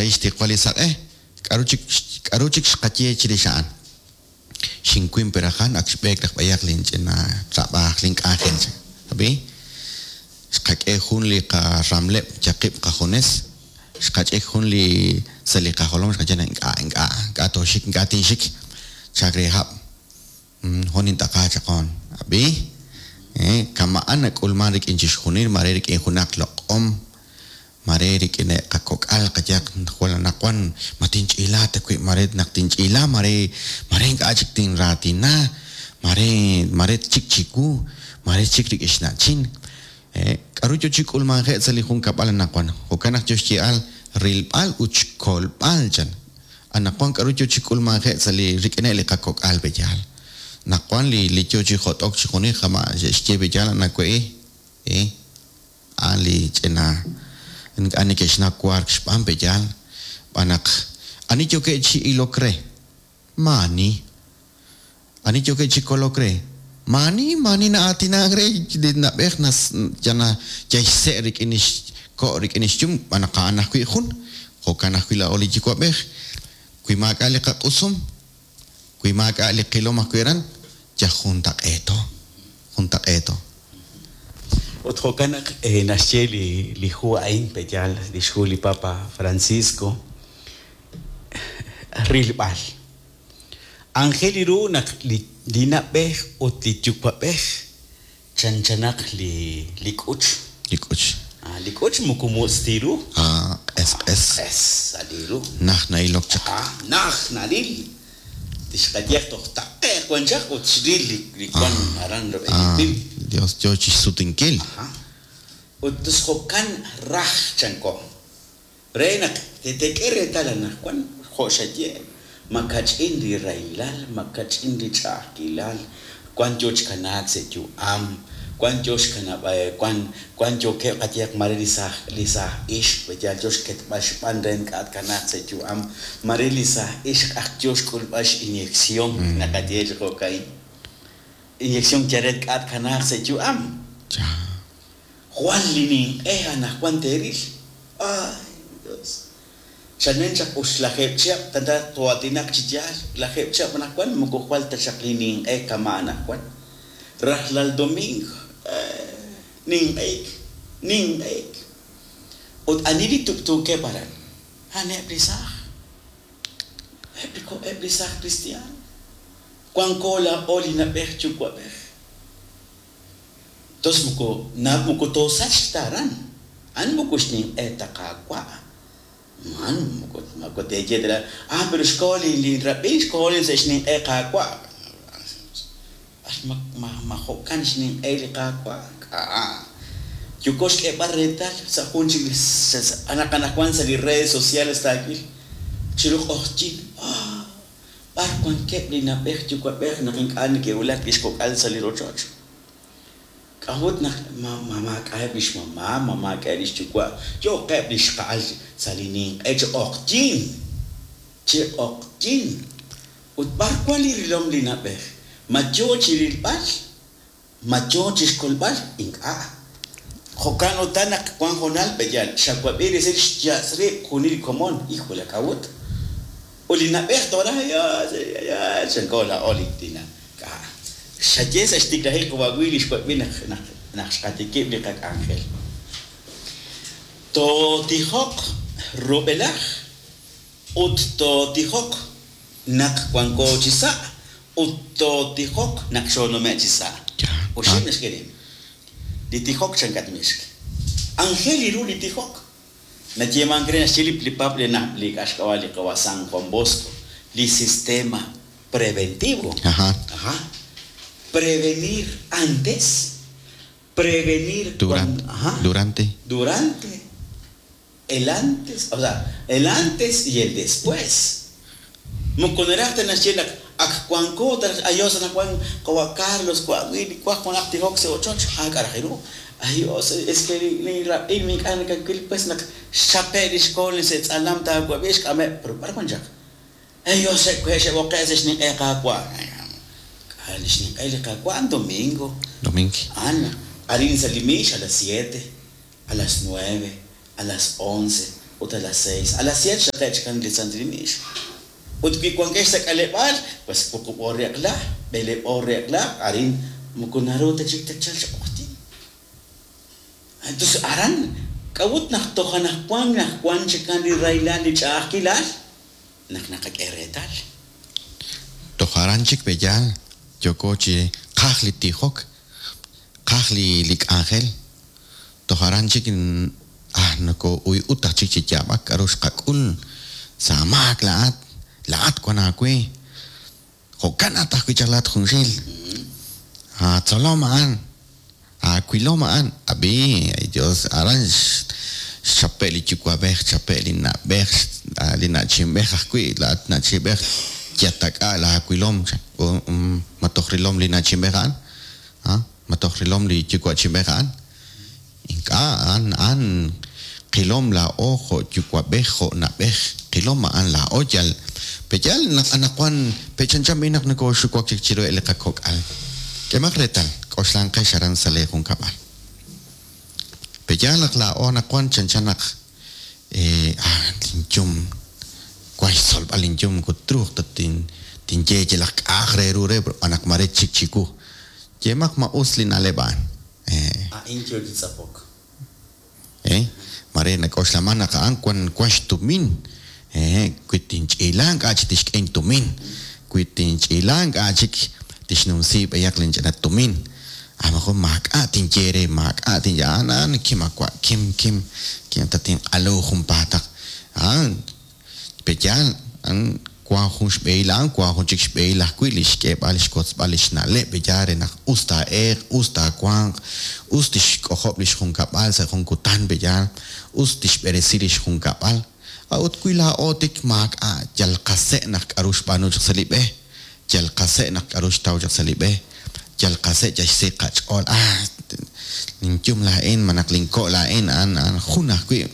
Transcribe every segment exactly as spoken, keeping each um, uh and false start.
xsahil xtiqwal li saq'e, k'aru chik k'aru chik xqaye chirix a'an. Xinkuin perajan ak xb'eek raj b'ayaq linch'ina trab'aaj link'anjel chan. Ab'i, xqak'e jun li qaramleb' chaqib' qajunes, xqach'ik jun li sa' li qajolom xqaye naq ink'a' ink'a' ink'a' tooxik ink'a' tinxik chak re hab'. Jun int'aqa chaqon. Ab'i, eh, kama'an nak'ulman rik'in chixjunil mare rik'in junaq loq'om, mare rik'in qakok'al qayaq jwal anaqwan ma tinch'iila ta wi' mare naq tinch'iila mare mare ink'a' chik tinraatina, mare mare chik chiwu, mare chik rik'in xna'chin. Eh, k'aru yo chi k'ulmanje' sa' li junkab'al anaqwan. Jo'kan naq yo xye'al rilb'al ut xkolb'al chan. Anaqwan k'aru yo chi k'ulmanje' sa' li rik'ineb' li qakok'al b'eyal. Naqwan li li yo chi jot'ok chi junil jama' xye b'eyal anawe'i, eh, a'an li ch'ina ink'a' neke'xnaw wark xb'aan b'eyal. B'an naq ani yookeb' chi ilok re, maani. Ani yookeb' chi kolok re, maani maani na'aatinak re li na'b'ej nas yana yayse' rik'in xko' rik'in xyum b'an naq a'an ajwi' jun. Jo'kan ajwi' laa'o li yuwa'b'ej. Wi maak'a' li qaq'usum, wi maak'a' li qilom ajwi' aran, yaj juntaq'eeto, juntaq'eeto. Ut jo'kan naq eh, naxye li li hu a'in pe'yaal li xhu li Papa Francisco rilb'al. Anjel li ru naq li li na'b'ej ut li yuwa'b'ej chanchanaq li li k'uch. Li k'uch. Ah, li k'uch moko mutz' ti ru. Ah, q'es q'es. Q'es sa' li ru. Naj na'ilok chaq. Ah, naj naril. Tixqayeq toj taqe'q wan chaq ut xril li li wan aran rub'el li Ah, pim. Dios yo chi xsutinkil. Ajá. Ut tus jo'kan raj chanko. Re naq tetek'e reetal anaqwan jo' xaye makach'in li rahilal, makach'in li ch'a'ajkilal, wan yo xkanaak sa' yu'am, wan yo xkanab' wan wan yookeb' qayehaq mare li saaj li saaj ixq b'eyal yo xketb'al xb'an re ink'a' tkanaaq sa' yu'am, mare li saaj ixq aj yo xk'ulb'al x'inyección naqaye chi jo'ka'in. Inyección yal re ink'a' tkanaaq sa' yu'am. Ya. Jwal li ninq'e anaqwan teeril. Ay, Dios. Chalen chaq ux lajeeb' chihab' tanta toatinaq chi yaal lajeeb' chihab' anaqwan moko jwal ta chaq li ninq'e kama' anaqwan. Rajlal domingo eh, ninq'eek, ninq'eek. Ut ani li tub'tuukeb' aran? A'aneb' li saaj. Eb' li ko- eb' li saaj cristiano. Wanko laa'o li na'b'ej yuwa'b'ej. Tos moko na moko toosachq ta aran. A'an moko xninq'e ta Qaawa'. Man moko moko teeye ta ah pero xkoho li li rab'in xkoho li sa' xninq'e Qaawa'. Ax ma ma ma jo'kan xninq'e li Qaawa'. K'a. Yoko xk'eeb'al reetal sa' jun chik li sa- anaq anaqwan sa' li redes sociales taawil chiru q'oqyin. Ah, b'ar wankeb' li na'b'ej yuwa'b'ej naq ink'a' neke'wulak li xkok'al sa' li rochoch. K'a'ut naq ma ma maak'a'eb' li xmama, ma maak'a'eb' li xyuwa', yookeb' li xqa'al sa' li ninq'e chi q'oqyin, chi q'oqyin. Ut b'ar wan li rilom li na'b'ej? Ma yo chi rilb'al, ma yo chi xkolb'al, ink'a'. Jo'kan utan naq wan jonal b'eyal, xawab'i resil xyatz' rib' junil komon, híjole k'a'ut. Ut li na'b'ej tora, ya, ya, chanko laa'o li tina. K'a. Xaye sa' xtiklajik wawil li xwab'i naq naq naq xqatikib' li qak'anjel. Tootijoq rub'elaj ut tootijoq naq wanko chi sa' ut tootijoq naq xoonume' chi sa'. Ya. Oxib' naxk'e rib'. Li tijok chankat mixk. Anjel li ru li tijok. Nayeemank re naxye li li pap li na li k'axk'ab'a li qawa San Juan Bosco, li sistema preventivo. Ajá. Ajá. Prevenir antes, prevenir Durante. cuando, ajá, Durante. durante, el antes, o sea, el antes y el después. Mukuneraqta naxye naq ak wanko ayos anaqwan qawa Carlos wa Willy wa Juan tijok sa ochoch ah k'arajiru. Ayos es que li rab'in mink'a nakakwil pues naq xchape' li xkool se tz'alam taawab'i xk'ameb' pero b'ar wan chaq. Ayos xe'kwe xe'b'oqe' sa xninq'e Qaawa'. Li xninq'e li Qaawa' domingo. Domingo. Ana, arin sa li misa a las siete, a las nueve, a las once, Ut a las seis, a las siete xraqe'k chikan li santil miix. Ut wi wankex sa' k'aleb'aal, pues wuqub' oor re eq'la, b'eleeb' oor re eq'la, arin moko naru ta chik tatchalq chi q'oqyink. Entonces aran k'a'ut naq toj anaqwan naq wan chikan li rahilal li ch'a'ajkilal naq naqak'e reetal. Toj aran chik peyaal yooko chi qaj li tijok, qaj li li k'anjel. Toj aran chik ah nokoo'uy'ut aj chik chi yaab'ak k'a'ru xqak'ul sa' maak laa'at, laa'at wan aawe. Jo'kan at ajwi' chaq laa'at junxil. Aatzolom a'an, aawilom a'an. Ab'i, ay Dios, aran xchape' li yuwa'b'ej, xchape' li na'b'ej, li na'chinb'ej ajwi', laa'at na'chinb'ej yatak'a laawilom, ma toj rilom li na'chinb'ej a'an, ma toj rilom li yuwa'chinb'ej a'an. Ink'a' a'an a'an qilom laa'o jo' yuwa'b'ej jo' na'b'ej, qilom a'an laa'o yal peyal naq anaqwan pechanchan b'i naq nokooxuwak chik chiruheb' li qakok'al. K'emaq reetal, k'oxlanqex aran sa' lee junkab'al. Peyal naq laa'o anaqwan chanchan naq ah linyum wan xtzolb'al linyum moko truuq ta tin tinye yalaq k'a'aj re ru re b'an naq mare chik chiwu. Yemaq ma us li na'leb' a'an. A'in yo chi tz'apok. Eh, mare nak'oxlaman naq a'an wan wan xtumin. Eh, wi tinch'iila ink'a' chik tixk'e intumin. Wi tinch'iila ink'a' chik tixnumsi b'ayaq linch'ina tumin. A lo mejor maak'a' tinye re, maak'a' tinye a'an a'an kim awa' kim kim kim tatinq'alu junpaataq. A'an peyal a'an wan jun xb'ehil a'an, wan jun chik xb'ehil ajwi' li xk'eeb'al xkotzb'al li xna'leb' peyal re naq us taa'eeq, us taawanq, us tixk'ojob' li xjunkab'al sa' jun kutan peyal, us tixb'eresi li xjunkab'al. A'ut wi laa'o tik maak'a' yal qase' naq k'a'ru xb'aanu chaq sa' li b'e, yal qase' naq k'a'ru xtaw chaq sa' li b'e, yal qase' yal xsi qach'ool, ah linyum laa'in malaj linko' laa'in a'an a'an jun ajwi'.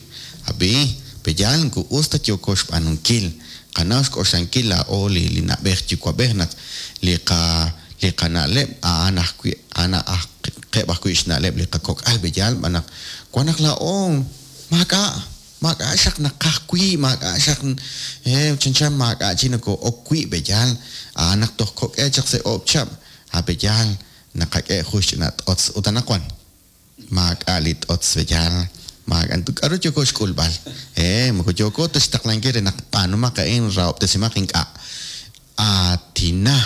Ab'i, peyal moko us ta yooko xb'aanunkil. Qanaw xk'oxlankil laa'o li li na'b'ej yuwa'b'ej naq li qa li qana'leb' a'an ajwi' a'an qeb' ajwi' xna'leb' li qakok'al peyal b'an naq wan naq laa'o maak'a' maak'a' xaq naqaj wi', maak'a' xaq eh chanchan maak'a' chik nokoo'ok wi' peyal, a'an naq toj kok'eb' chaq sa' oob' chihab', a peyal naqak'e jun xch'ina t'otz ut anaqwan maak'a' li t'otz peyal, maak'a' k'a'ru yooko xk'ulb'al. Eh, moko yooko ta xtaqlankil re naq b'aanumaq a'in rahob'tesimaq ink'a'. Aatina,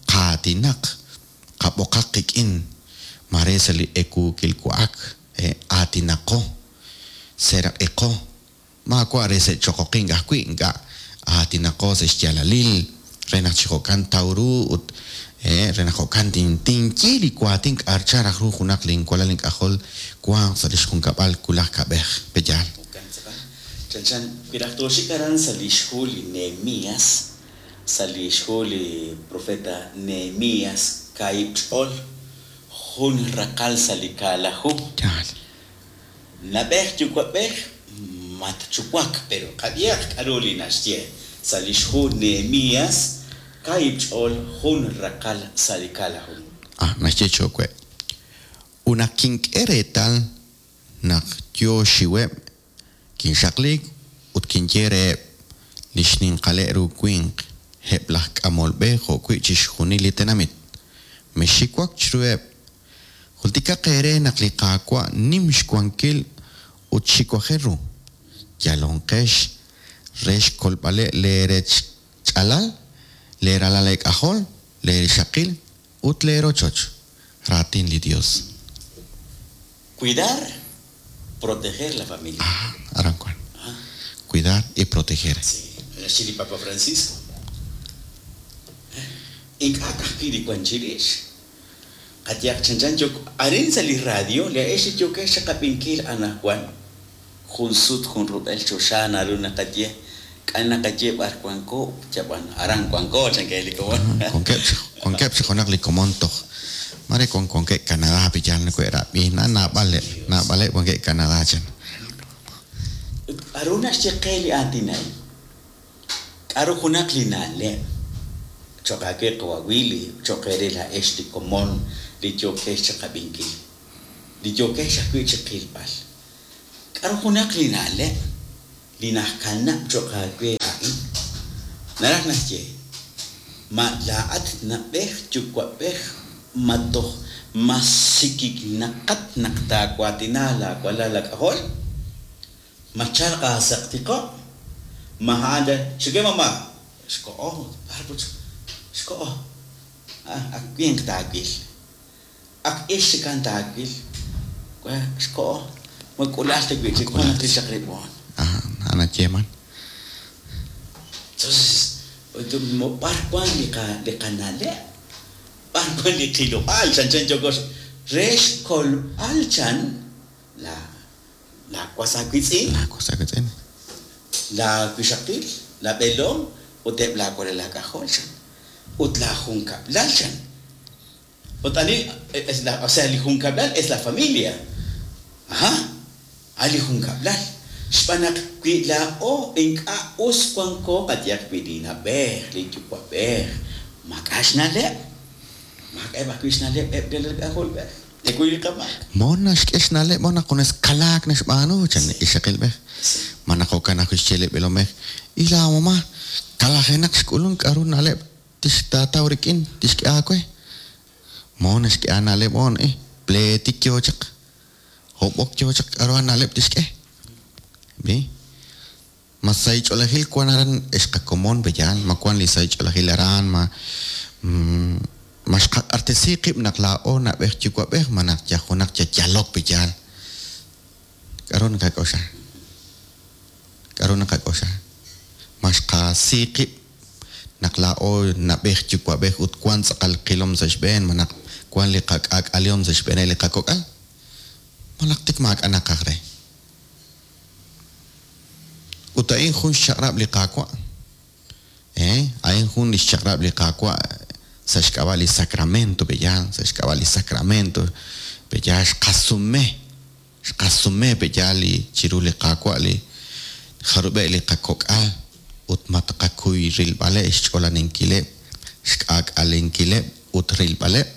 qaatinaq, qab'oqaq qik'in, mare sa' li ekuukil wa'ak, eh, aatinaqo, seraq'iqo, maawa' re sa' choqoqink ajwi' ink'a' aatinaqo sa' xyaalalil re naq chi jo'kan taw ru ut eh, re naq jo'kan tin tinye li waatin k'a'ar raj ru junaq linwalal ink'ajol wanq sa' li xjunkab'al wulaj kab'ej peyal. Jo'kan tz'aqal. Chanchan wi raj tooxik aran sa' li xhu li Nehemías, sa' li xhu li profeta Nehemías kaahib' ch'ool, jun raqal sa' li kaalaju. Yaal. Nab'ej yuwa'b'ej matchuwak, pero qab'ihaq k'a'ru li naxye sa' li xhu Nehemías kaahib' ch'ool, jun raqal sa' li kaalaju. Ah, naxye chowe. Ut naq kink'e reetal naq yo xiweb', kinxaqliik ut kinye reheb' li xninqaleb' ru winq, eb' laj k'amol b'e jo'wi' chixjunil li tenamit. Mexxiwak chiruheb'. Jultikaq eere naq li Qaawa' nim xwankil ut xiwajel ru. Yalonqex re xkolb'aleb' leerech ch'alal, leeralal eek'ajol, leerixaqil ut leerochoch. Raatin li Dios. Cuidar, proteger la familia. Ah, aran wan. Cuidar y proteger. Sí, naxye li Papa Francisco. Ink'a' ka'ajwi' li wan chirix. Qayehaq chanchan yok arin sa' li radio, laa'ex li yookex chiqab'inkil anaqwan. Jun sut jun rub'el choxa naru naqaye, k'a' naqaye b'ar wanko, chab'an aran wanko chankej li komon. Wankeb' chi wankeb' chi junaq li komon toj mare wan wankeb' Canadá peyal nakohe'rab'i, na naab'aleb', naab'aleb' wankeb' Canadá chan. K'a'ru naxye qe li aatin a'in? K'a'ru junaq li na'leb' cho'q aawe qawa' Willy, cho'q eere laa'ex li komon li yookex chiqab'inkil, li yookex ajwi' chiqilb'al. K'a'ru junaq li na'leb' li najkanab' cho'q aawe a'in. Naraj naxye, ma laa'at nab'ej yuwa'b'ej ma toj ma sikiknaqat naq taawaatina laawalal laak'ajol, ma chalq aasaqtiqo', ma a'an xike mamá, xko'o, b'ar put xko'o, ak winq taawil, ak ix chikan taawil, xko'o, ma k'ulal ta wi'chik naq tixaq rib'oon. Ajá, anayeman. Entonces, b'ar wan li qa li qana'leb', b'ar wan li qilob'aal, chan chan yokos re xkolb'al chan la la was aawitz'in, La cosa que tiene. la wixaqil, la b'eelom ut eb' laawalal laak'ajol chan, ut la junkab'lal chan. Ut ani es la, o sea, li junkab'lal es la familia. Ajá, a li junkab'lal. Xb'aan naq wi laa'o ink'a' us wanko qayehaq wi li nab'ej, li yuwa'b'ej, maak'a' xna'leb', maak'a'eb' ajwi' xna'leb' eb' li k'ajolb'ej, ekuy li qamaak. Mona xk'e xna'leb' mona junes kalaak naxb'aanu chan ixaqilb'ej. Ma naq jo'kan ajwi' xye li b'eelomej, y la mamá kalajenaq xk'ulun k'aru na'leb' tixtaataw rik'in tixk'e aawe. Mona xk'e aana'leb' on eh pleetik yoo chaq, hob'ok yoo chaq k'aru aana'leb' tixk'e. Bi ma saych'oolejil wan aran xqakomon b'eyal, ma wan li saych'oolejil aran, ma ma xqaq'artesi qib' naq laa'o nab'ej yuwa'b'ej, ma naq yajunaq yayalok b'eyal. K'aru naqak'oxa? K'aru naqak'oxa? Ma xqasi qib' naq laa'o nab'ej yuwa'b'ej ut wan tz'aqal qilom sa' xb'een, ma naq wan li qak'aak'alihom sa' xb'een li qakok'al, ma naq tik maak'a' naqaj re. Ut a'in jun xchaq'rab' li Qaawa'. Eh, a'in jun li xchaq'rab' li Qaawa' sa' xk'ab'a' li sacramento b'eyal, sa' xk'ab'a' li sacramento b'eyal xqasume, xqasume b'eyal li chiru li Qaawa' li jarub'e' li qakok'al ut ma taqakuy rilb'aleb' xch'olaninkileb', xk'aak'alenkileb' ut rilb'aleb'.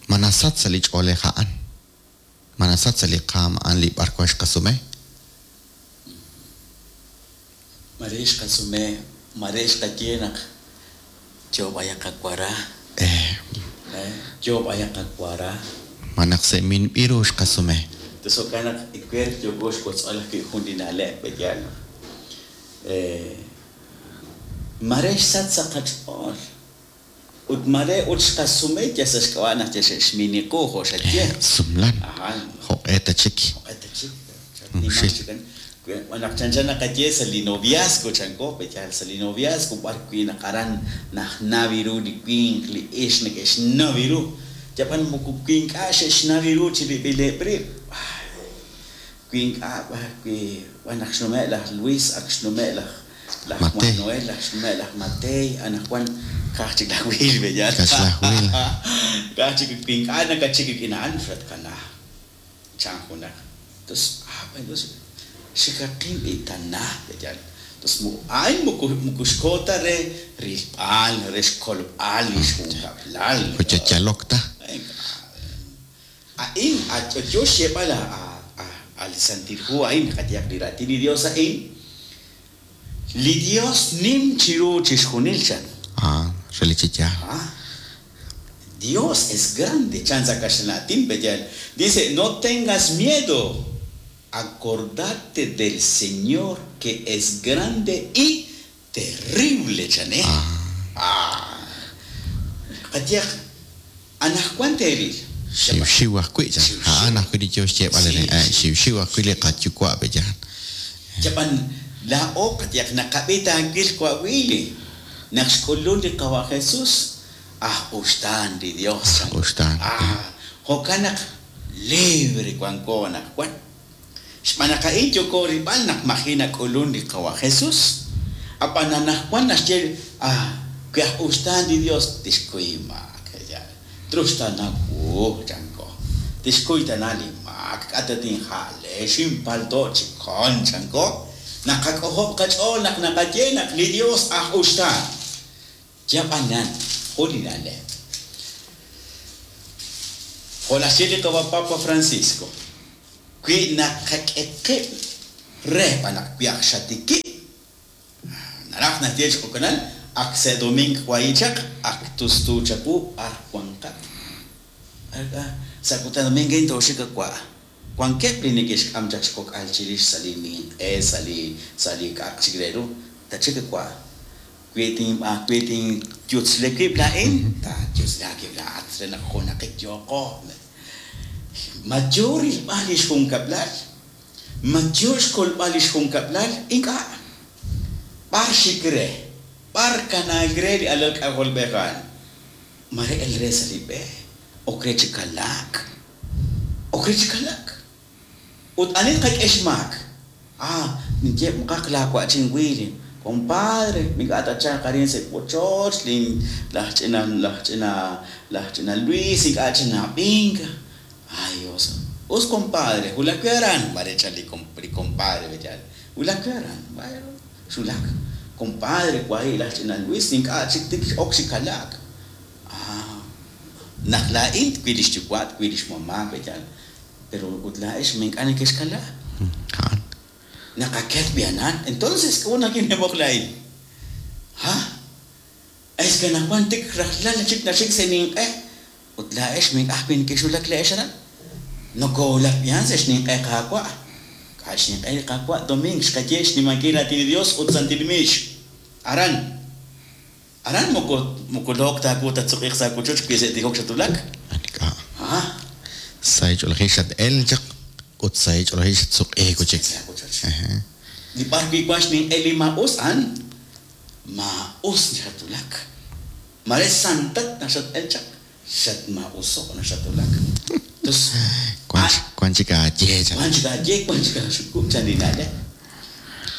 Ma nasach sa' li ch'oolej a'an, ma nasach sa' li qaam a'an li b'ar wan xqasume. Mare xqasume, mare xqaye naq yo b'ayaq qawara. Eh. Yo b'ayaq qawara. Ma naq se'minb'iru xqasume. Entonces jo'kan naq iwer yoko xwotz'al ajwi' jun li na'leb' b'eyal. Eh, mare xsach sa' qach'ool. Ut mare ut xqasume ya sa' xk'ab'a' naq ya xe'xminiqu jo' xaye. Sumlan. Ajá. Jo'q'e ta chik. Jo'q'e ta chik. Nimaq chikan. Naq chanchan naqaye sa' li noviazgo chanko, b'eyal sa' li noviazgo b'ar wi' naq aran najnawi ru li winq li ix neke'xnawi ru. Yab'an moko wi ink'a' xe'xnawi ru chirib'ileb' rib'. Wi ink'a' b'ar wi' b'an naq xnume' laj Luis, ak xnume' laj laj Manuel, laj xnume' laj Matei, anaqwan ka'aj chik laj Wil b'eyal. Ka'aj laj Wil. Ka'aj chik wi ink'a' nakachik rik'in a'an xatkana. Chan junaq. Entonces, ah, bueno, xikaqin b'itana b'eyal. Entonces, a'in moko moko xkota re rilb'al, re xkolb'al li xjunkab'lal. Yalok ta. A'in yo xyeeb'al al Santil Hu a'in qayehaq li raatin li Dios a'in. Li Dios nim chiru chixjunil chan. Ah, relik chi yaal. Ah, Dios es grande, chan sa kaxlan b'eyal. Dice, no tengas miedo. Acordate del Señor que es grande y terrible, chané. Ah. Qayehaq, anaqwan teeril. Xiwxiw ajwi' chan. A'an ajwi' li yo xyeeb'al re, xiwxiw ajwi' li qayuwa' b'eyal. Yab'an laa'o qayehaq naqab'i taawil wa'wili. Naq xk'ulun li Qawa' Jesús, aj uxtaan li Dios chan. Uxtaan. Ah, jo'kan naq libre wanko anaqwan. Xb'aan naq a'in yoko rilb'al naq maji nak'ulun li Qawa' Jesús. Ab'an anaqwan naxye, ah, wi aj uxtaan li Dios tixkuy maak. Truxtana wu chanko. Tixkuy tana li maak, k'ata tinja'le, xinpalto chikon chanko. Naqak'ojob' qach'ool naq naqaye naq li Dios aj uxtaan. Yab'anan, jun li na'leb'. Jo' naxye li Qawa' Papa Francisco, wi naqak'e qib' Re b'an naq wi aj xatikib'. Naraj naxye chi jo'kanan, ak sa' doming wahi' chaq, ak tustu chawu b'ar wanqat. Sa' kutan domingo tooxik wa'. Wankeb' li neke'xk'am chaq xkok'al chirix sa' li ninq'e, sa' li sa' li k'a'aq chik re ru. Tachik wa'. Wi tinb'a wi tinyutzle wib' laa'in, taayutzle aawib' laa'at re naq junaqik yooqo. Ma yo rilb'al li xjunkab'lal, ma yo xkolb'al li xjunkab'lal, ink'a'. B'ar xik re, b'ar kanaak re li alal k'ajolb'ej a'an. Mare el re sa' li b'e, ok re chi kalaak. Ok re chi kalaak. Ut ani tqak'e xmaak? Ah, ninye mqaq laawa'chin William. Compadre, ink'a' tachalq arin sa' wochoch, lin laj ch'ina laj ch'ina laj ch'ina Luis ink'a' chinab'ink. Ay, Dios. Us compadre, wulak wi aran, mare chan li li compadre b'eyal. Wulak wi aran, bueno, xulak. Compadre, wahi' laj ch'ina Luis ink'a' chik tik ok chi kalaak. Ah, naq laa'in twil lix yuwa', twil lix mamá b'eyal. Pero ut laa'ex ma ink'a' nekexkala. A'an. Naqaket bianan. Entonces, ¿cómo nakinebok laa'in? Ha? Es que anaqwan tik rajlal chik naxik sa' ninq'e. Ut laa'ex ma ink'a' ajwi' nekexwulak laa'ex aran. Nokowulak b'ian sa' xninq'e Qaawa'. K'a' xninq'e li Qaawa' doming xqaye xnimankil raatin li Dios ut santil miix. Aran. Aran moko moko look taawu tatsuq'iq sa' wochoch wi sa' tijok xatulak. Ink'a'. Ha? Sa' ch'oolejil xat-el chaq ut sa' ch'oolejil xatsuq'iik chik. Sa' wochoch. Ajá. Li b'ar wi' wan xninq'e li maa'us a'an maa'us xatulak. Mare santat naq xat-el chaq, xatmaa'uso' naq xatulak. Entonces, Wan wan chik aaye chan. wan chik aaye, wan chik aaxukub' chan li na'leb'.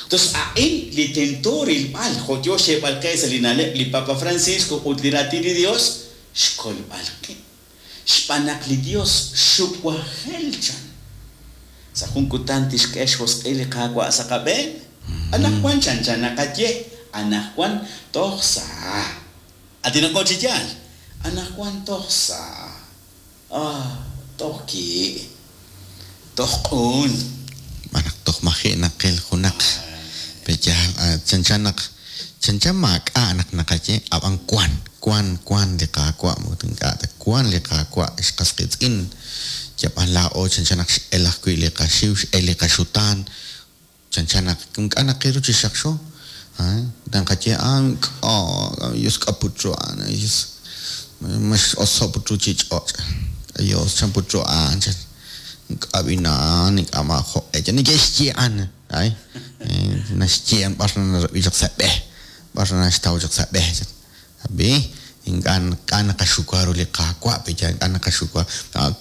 Entonces, a'in li tento rilb'al, jo' yo xyeeb'al qe sa' li na'leb' li Papa Francisco ut li raatin li Dios, xkolb'al qib'. Xb'aan naq li Dios xuwajel chan. Sa' jun kutan tixk'e xjosq'il li Qaawa' sa' qab'een. Anaqwan chan chan naqaye, anaqwan toj sa'. Atinaqo chi yaal. Anaqwan toj sa'. Ah, toj ki'. Toj q'un. B'an naq toj maji' naqil junaq. B'eyal, chanchan naq chanchan maak'a' naq naqaye, ab'an wan, wan, wan li Qaawa' moko ink'a' ta wan li Qaawa' xqas qiitz'in. Yab'an laa'o chanchan naq x'el ajwi' li qaxiw, x'el li qaxutaan. Chanchan naq ink'a' naqil ru chi xaqxo. Ah, naqaye, ah, ink'a', Dios k'aputru a'an, Dios ma x'oso' putru chi ch'och'. Dios chan putru a'an, chan ink'a' b'ina'an, ink'a' maajo'q'e. Chan neke'xye a'an, ay, naxye a'an b'ar narab'i chaq sa' b'e, b'ar naxtaw chaq sa' b'e, chan. Ab'i, ink'a' ink'a' naqaxuwa ru li Qaawa', b'eya ink'a' naqaxuwa.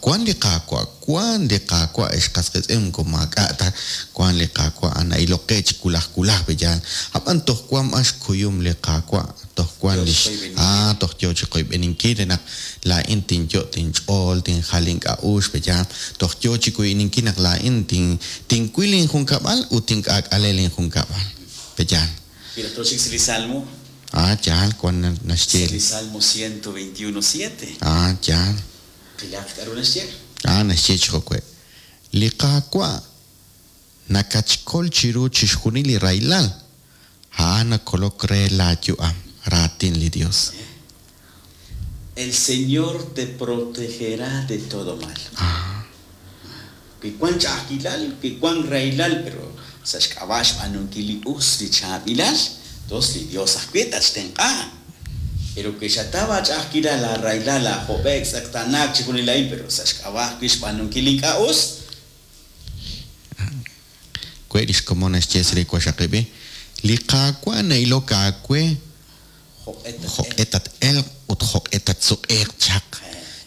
Wan li Qaawa', wan li Qaawa' ex qas qiitz'in moko maak'a' ta, wan li Qaawa' na'ilok qe chi wulaj wulaj b'eya. Ab'an toj wan b'an xkuyum li Qaawa', toj wan lix ah, toj yo chi qoyb'eninkil re naq laa'in tinyo' tinch'ool, tinjal ink'a'uxl b'eya. Toj yo chi koyb'eninkil naq laa'in tin tinwil injunkab'al ut tink'aak'ale linjunkab'al. B'eya. Mira, toxik sa' li Salmo. Ah, yaal, wan naxye. Li Salmo ciento veintiuno siete. Ah, yaal. Qilaq k'a'ru naxye. Ah, naxye chi jo'we. Li Qaawa' nakatxkol chiru chixjunil li rahilal. A'an nakolok re laayu'am, raatin li Dios. El Señor te protegerá de todo mal. Ah. Wi wan ch'a'ajkilal, wi wan rahilal, pero sa' xk'ab'a' xb'aanunkil li us li chaab'ilal, Dos li Dios ajwi' tatxtenq'a. Pero que xataba ch'a'ajkilal la rahilal la job'ek tz'eqtanaak chixjunil a'in, pero sa' xk'ab'a' ajwi' xb'aanunkil ink'a' us. We lix komon naxye sa' li waxaqib'i, li Qaawa' na'ilok aawe jo'q'e tat-elq ut jo'q'e tatsuq'eeq chaq.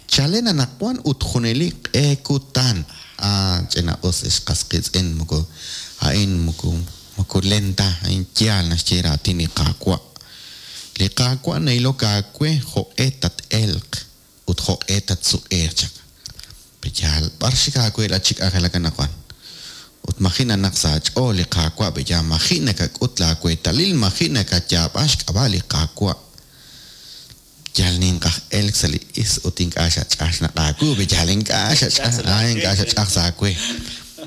Chalen anaqwan ut junelik q'e kutan. Ah, ch'ina us ex qas qiitz'in moko a'in moko moko lenta, a'in yaal naxye raatin li Qaawa'. Li Qaawa' na'ilok aawe jo'q'e tat-elq ut jo'q'e tatsuq'eeq chaq. B'eyaal, b'ar xik aawe la chik k'anjelak anaqwan. Ut maji' nanaq sa' aach'ool li Qaawa' b'eyaal, maji' nakak'ut laaweetalil, maji' nakayaab'a xk'ab'a' li Qaawa'. Yal ninqaj elk sa' li is ut ink'a' xach'aj xnaq' aawu, b'eyaal ink'a' xach'aj, ah, ink'a' xach'aj sa' aawe.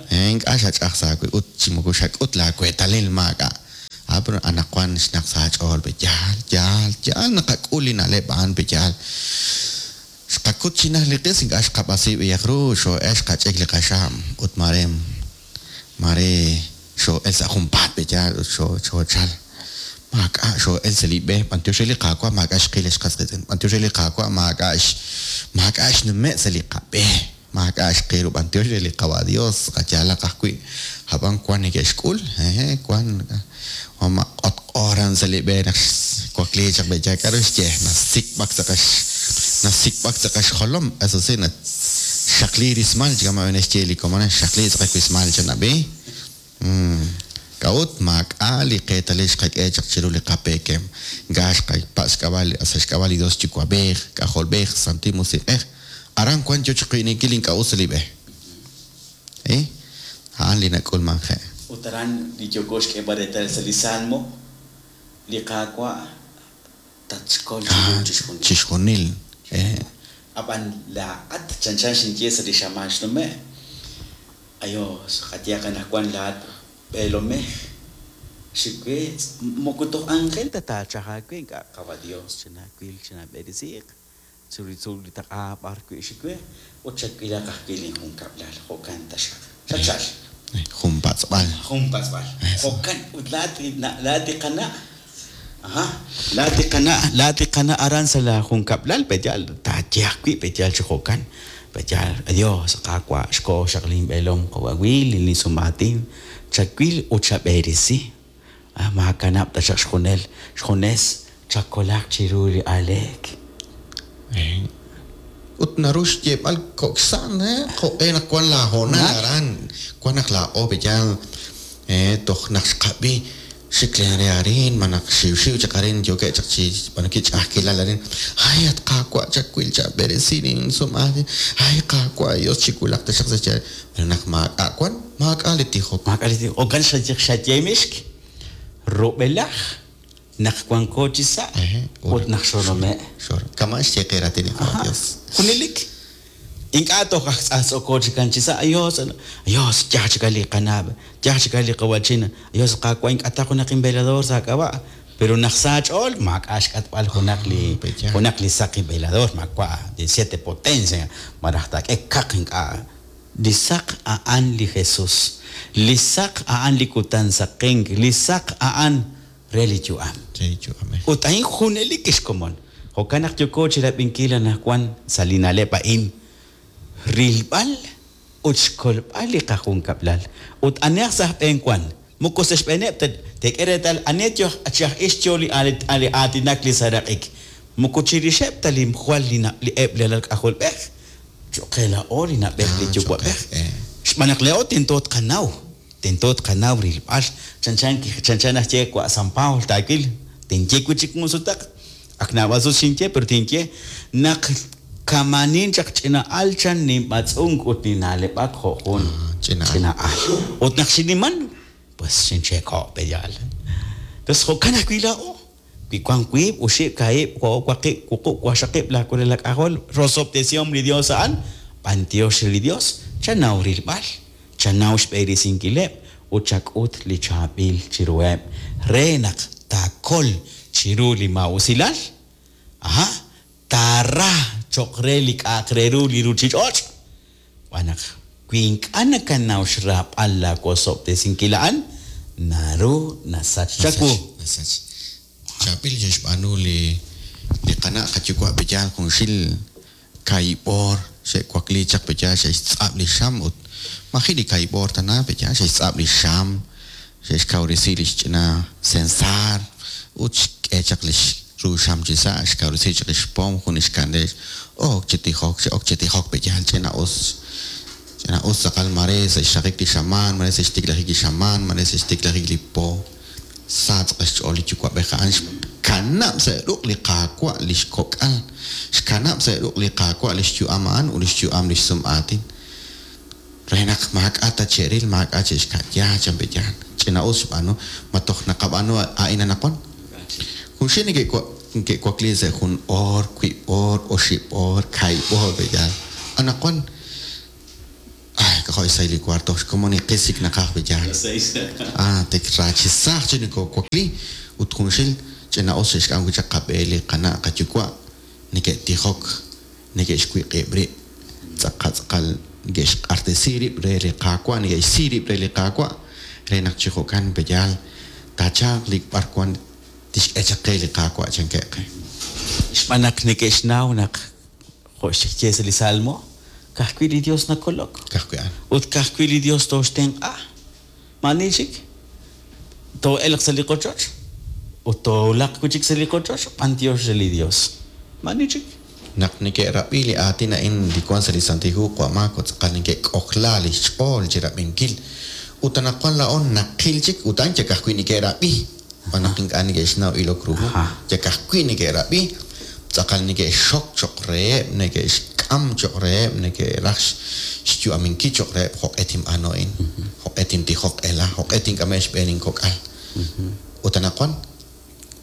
Ink'a' xach'aj sa' aawib' ut chi moko xak'ut laaweetalil maak'a'. Ah, pero anaqwan xnaq sa' aach'ool pe yaal, yaal, yaal naqak'ul li na'leb' a'an pe yaal. Xqakut chi naj li qis ink'a' xqab'asi b'iyaq ru, xoo'el xqach'ik li qaxam ut mare mare xoo'el sa' junpaat pe yaal ut xoochal. Maak'a' xoo'el sa' li b'e, b'antiox re li Qaawa' maak'a' xqil ex qas qiitz'in. B'antiox re li Qaawa' maak'a' maak'a' xnume' sa' li qab'e. Maak'a' xqil ru b'antiox re li Qawa' Dios, qayaalaq ajwi'. Hab'an wan neke'xk'ul, eh, wan ma q'otq'oran sa' li b'e naq xwakli chaq b'e yaal k'a'ru xye, nasikb'ak sa' qax nasikb'ak sa' qaxjolom, eso sí, xaqli rismal, chikama b'e xye li komon, xaqli sa' qawismal chanab'i. K'a'ut maak'a' li qeetalil xqak'e chaq chiru li qapeekem. Ink'a' xqapatz' xk'ab'a' sa' xk'ab'a' li Dios Yuwa'b'ej, K'ajolb'ej, Santil Musiq'ej. Aran wan yo chiqwi'ninkil ink'a' us li b'e. Eh? A'an li nak'ulmanje'. Ut aran li yooko xk'eeb'al reetal sa' li Salmo, li Qaawa' tatxkol chiru chixjunil. Chixjunil. Eh. Ab'an laa'at chanchan xinye sa' li xamaan xnume'. Ayos, qayehaq anaqwan laa'at b'eelomej xiwe moko toj ángel ta taachaj aawe ink'a' Qawa' Dios chanaawil chanab'eresiiq chiru li tzuul li taq'a b'ar wi' xiwe ut chawilaq ajwi' linjunkab'lal jo'kan taxaq. Xachal. Jun patz'b'al. Jun patz'b'al. Jo'kan ut laa'at laa'at li qana'. Aha, laa'at li qana', laa'at li qana' aran sa' la junkab'lal pe yaal taaye ajwi' pe yaal chi jo'kan. Pe yaal, adiós, Qaawa' xkoho xaq linb'eelom qawawil linsumaatin chawil ut chab'eresi. Ah, maakanab' taxaq xjunel xjunes chakolaq chiru li aleek. Ut naru xyeeb'al kok'san, eh, jo'q'e naq wan laahoonal aran, wan naq laa'o pe yaal, eh, toj naq xqab'i xik len re arin, ma naq xiwxiw chaq arin, yookeb' chaq chi b'anuki ch'a'ajkilal arin. Ay, at Qaawa' chawil chab'eresi linsumaatin. Ay, Qaawa' Dios chiwulaq taxaq sa' xyaal. Pero naq maak'a' wan, maak'a' li tijok. Maak'a' li tijok. Jo'kan xaye xayemixk rub'elaj naq wanko chi sa' ut naq xorome'. Xor. Kama xye qe raatin li Qawa' Dios. Junelik. Ink'a' toj aj tz'ajtz'oko chikan chi sa'. Ayos, ayos, yaj chika li qanab', yaj chika li qawachina. Ayos, Qaawa' ink'a' ta junaq invelador sa' k'ab'a'. Pero naq sa ch'ool, maak'a' xk'atb'al junaq li junaq li saqi velador, maawa' de siete potencia, maraj taak'e kaq ink'a'. Li saq a'an li Jesús. Li saq a'an li kutan saqenk. Li saq a'an re li yu'am. Re li yu'am. Ut a'in junelik kixkomon. Jo'kan naq yooko chirab'inkil anaqwan sa' li na'leb' a'in. Rilb'al ut xkolb'al li qajunkab'lal. Ut anihaq sa' xb'een wan. Moko sa' xb'eeneb' teek'e reetal ani yo chi aj ix yo li li aatinak li saraq'ik. Moko chirixeb' ta li jwal li li eb' li alal k'ajolb'ej. Cho'q qe laa'o li na'b'ej li yuwa'b'ej. Xb'aan naq laa'o tento tqanaw. Tento tqanaw rilb'al. Chanchan chanchan aj ye wa' San Pablo taawil. Tinye wi' chik jun sutaq. Ak naab'al sut xinye, pero tinye naq kamanin chaq ch'ina'al chan ninb'atz'unk ut nina'leb'ak jo' jun ch'ina'al. Ut naq xiniman, pues xincheeko' pe yaal. Entonces jo'kan ajwi' laa'o. Wi wan wiib', oxib', kaahib', o'o, waqib', wuqub', waqxaqib' laakulel lak'ajol, rosob'tesihom li Dios a'an, b'antiox li Dios, chanaw rilb'al, chanaw xb'eresinkileb' ut chak'ut li chaab'il chiruheb' re naq taakol chiru li maa'usilal. Aha, taara cho'q re li k'a'aq re ru li ruuchich'och'. Xb'aan naq wi ink'a' nakanaw xraab'al laawosob'tesinkil a'an, naru nasach chawu. Nasach. Chaab'il xe'xb'aanu li li qana' qayuwa' pe yaal junxil kaahib' xe'wakli chaq pe yaal xe'xtz'ab' li xam ut maji' li kaahib' tana pe yaal xe'xtz'ab' li xam, xe'xkawresi li xch'ina sensar ut xk'e chaq li ru xam chi sa', xkawresi chaq li xpom jun li xkandel. Ok chi tijok, ok chi tijok pe yaal ch'ina us. Ch'ina us tz'aqal mare sa' xraqik li xamaan, mare sa' xtiklajik li xamaan, mare sa' xtiklajik li po. Sa tz'aqal xch'ool li yuwa'b'ej a'an xkanab' sa' ruq' li Qaawa' li xkok'al, xkanab' sa' ruq' li Qaawa' li xyu'am a'an ut li xyu'am li xsum'aatin. Re naq maak'a' ta che'ril, maak'a' che'xka'ya chan pe yaal. Ch'ina us xb'aanu, ma toj naqab'aanu a'in anaqwan. Junxil neke'wakli sa' jun oor, wiib' oor, oxib' oor, kaahib' oor pe yaal. Anaqwan, ay, k'ajo' xsahil li cuarto xkomon iqis chik naqaj b'eyaal. Ah, tik rachisaj chi nokowakli ut junxil ch'ina'us xe'xk'am wi' chaq qab'e li qana' qayuwa' neke'tijok neke'xwiq'ib' rib' tz'aqal tz'aqal neke'xq'artesi rib' re li Qaawa' neke'xsi rib' re li Qaawa' re naq chi jo'kan peyaal taachalq li b'arwan tixk'e chaq qe li Qaawa' chankeb' qe. Xb'aan naq neke'xnaw naq jo' xye sa' li Salmo, ka'ajwi' li Dios nakolok. Ka'ajwi' a'an. Ut ka'ajwi' li Dios tooxtenq'a. Maani chik too'elq sa' li qochoch ut toowulaq wi' chik sa' li qochoch b'antiox re li Dios. Maani chik. Naq neke'rab'i li aatin a'in li wan sa' li Santil Hu qawa' Marco tz'aqal neke'k'ojla lix ch'ool chi rab'inkil ut anaqwan laa'o naqil chik ut a'an yal ka'ajwi' neke'rab'i xb'aan naq ink'a' neke'xnaw ilok ru hu yal ka'ajwi' neke'rab'i tz'aqal neke'xxok cho'q reheb' neke'xk'am cho'q reheb' neke'raj xyu'aminkil cho'q reheb' jo'q'e tinb'aanu a'in jo'q'e tintijoq ela jo'q'e tink'ame' xb'een inkok'al ut anaqwan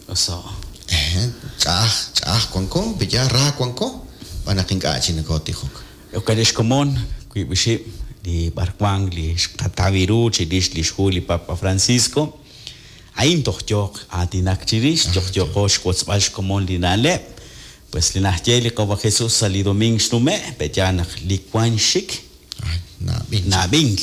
Oso. Eh, ch'a'aj ch'a'aj wanko peya ra wanko xb'aan naq ink'a' chi nokotijok. Jo'kan xkomon wiib' oxib' li b'arwan li xqataw ru chirix li xhu li Papa Francisco. A'in toj yooq aatinak chirix, toj yooqo xwotzb'al xkomon li na'leb'. Pues li naxye li Qawa' Jesús sa' li domingo xnume', peya naq li wan xik Ay, nab'ink. nab'ink.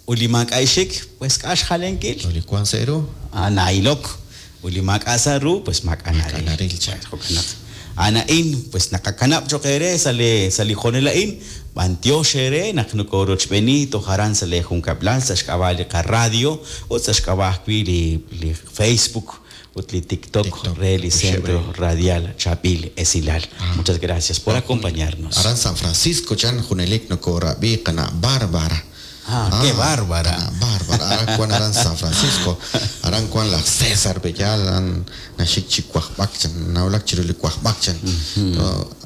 Ut li maak'a' xik, pues k'a' xjalenkil. Li wan sa' ru Ah, na'ilok. Ut li maak'a' sa' ru, pues maak'a' Maak'a' naril. naril, chan. Jo'kan naq a'an a'in, pues naqakanab' cho'q eere sa' li sa' li jonel a'in, b'antiox eere naq nokorochb'eeni toj aran sa' li junkab'lal sa' xk'ab'a' li qaradio ut sa' xk'ab'a' ajwi' li li Facebook ut li TikTok TikTok, re li Centro Uxebre. Radial Chabil Esilal. Muchas gracias por acompañarnos. Aran San Francisco chan junelik nokorab'i qana' Bárbara. Ah, qué bárbara. Qana' Bárbara. Aran wan aran San Francisco. Aran wan laj César Bellal aran naxik chi wajb'ak chan nawulak chiru li wajb'ak chan.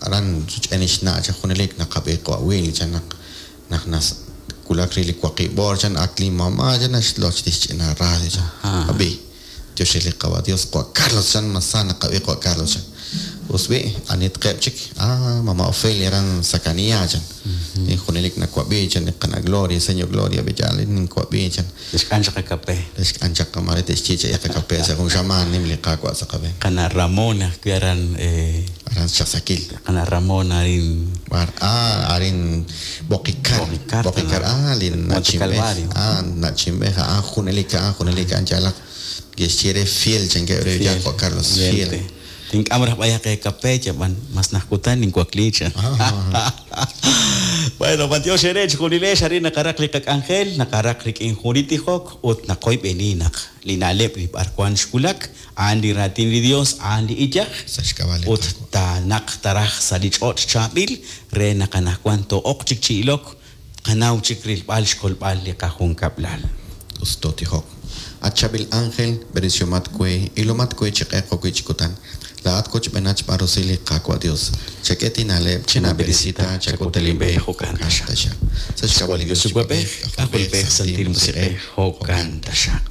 Aran rich'en ixna' chan junelik naqab'i qawil chan naq naq nas wulak ri li waqib' chan ak li mamá chan naxloch tixch'ina radio chan. Ajá. Ab'i Dios li qawa Dios qawa Carlos chan masa naqab'i qawa Carlos chan. Usbi anit qeb chik ah mama Ofelia aran Sakania chan. Ni junelik nakwab'i chan ni qana Gloria señor Gloria bellal ni kwab'i chan. Xk'an chaq kape. Lexk'an chaq mare texchicha yaqa kape sa jun xaman nim li qaqwa sa qabe. Qana Ramona ajwi' aran eh, Aran Chasakil. qana Ramona arin Bar ah arin Boqicar. Boqicar, Boqicar ah li Monte nachimbej. Calvario. Ah nachimbej ah junelik ah junelik an chalaq Gexchiere fiel chan que Fiel. ya Juan Carlos fiel. Fiel. Tink'am raj b'ayaq e kape chab'an mas najkutan ninkuakli chan. Bueno, b'antiox eere chijunilex arin naqaraq li qak'anjel, naqaraq rik'in jun li tijok ut naqoyb'eni naq li na'leb' li b'arwan xwulak, a'an li raatin li Dios, a'an li iyaj, Sa xk'ab'a' li ut Qaawa'. taanaq taraj sa' li ch'och' chaab'il re naq anaqwan to'oq chik chi ilok, qanaw chik rilb'al xkolb'al li qajunkab'lal. Us totijok. At chabil ángel, berisyomat kwe, ilomat kwe chiq'eqo kwi chikutan. Laat koch benach barosili qaqwa Dios. Chak'eti naleb, china berisita, chakutelimbe, Jo'kan taxaq. Sa xk'ab'a' li Dios Dios Yuwa'b'ej, K'ajolb'ej, Santil Musiq'ej, jo'kan taxaq.